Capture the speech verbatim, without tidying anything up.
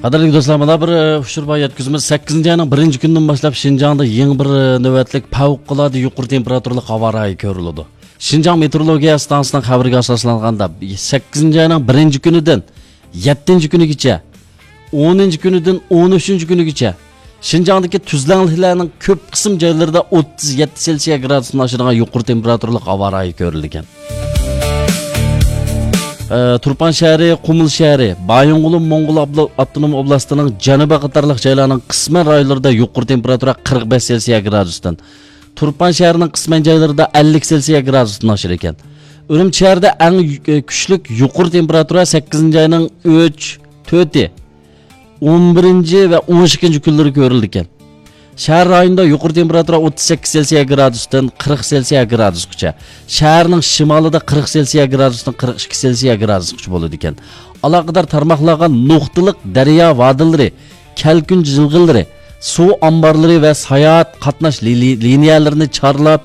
قەدىرلىك دوستلار، مانا بىر، ئە، ئۇچۇر بار يەتكۈزىمىز. سەككىزىنچى ئاينىڭ بىرىنچى كۈنىدىن باشلاپ شىنجاڭدا يېڭى بىر، ئە، نۆۋەتلىك پەۋقۇلئاددە يۇقىرى تېمپېراتۇرىلىق ھاۋا رايى كۆرۈلىدۇ. شىنجاڭ مېتېئورولوگىيە ئىستانسىسىنىڭ خەۋىرىگە ئاساسلانغاندا، سەككىزىنچى ئاينىڭ بىرىنچى كۈنىدىن يەتتىنچى كۈنىگىچە، ئونىنچى كۈنىدىن ئون ئۈچىنچى كۈنىگىچە شىنجاڭدىكى تۈزلەڭلىكلەرنىڭ كۆپ قىسىم جايلىرىدا ئوتتۇز يەتتە سېلسىيە گرادۇستىن ئاشىدىغان يۇقىرى تېمپېراتۇرىلىق ھاۋا رايى كۆرۈلگەن. ئە، تۇرپان شەھىرى، قۇمۇل شەھىرى، بايىنغولىن موڭغۇل ئابلا-، ئاپتونوم ئوبلاستىنىڭ جەنۇبى قاتارلىق جايلارنىڭ قىسمەن رايونلىرىدا يۇقىرى تېمپېراتۇرا قىرىق بەش سېلسىيە گرادۇستىن، تۇرپان شەھىرىنىڭ قىسمەن جايلىرىدا ئەللىك سېلسىيە گرادۇستىن ئاشىدىكەن. ئۈرۈمچى شەھىرىدە ئەڭ يۈ-، كۈچلۈك يۇقىرى تېمپېراتۇرا سەككىزىنچى ئاينىڭ ئۈچ، تۆتى، ئون بىرىنچى ۋە ئون ئىككىنچى كۈنلىرى كۆرۈلىدىكەن. شەھەر رايونىدا يۇقىرى تېمپېراتۇرا ئوتتۇز سەككىز سېلسىيە گرادۇستىن قىرىق سېلسىيە گرادۇسقىچە، شەھەرنىڭ شىمالىدا قىرىق سېلسىيە گرادۇستىن قىرىق ئىككى سېلسىيە گرادۇسقىچە بولىدىكەن. ئالاقىدار تارماقلارغا نۇقتىلىق دەريا ۋادىلىرى، كەلكۈن جىلغىلىرى، سۇ ئامبارلىرى ۋە ساياھەت قاتناش لى-، لى-، لىنىيەلىرىنى چارلاپ،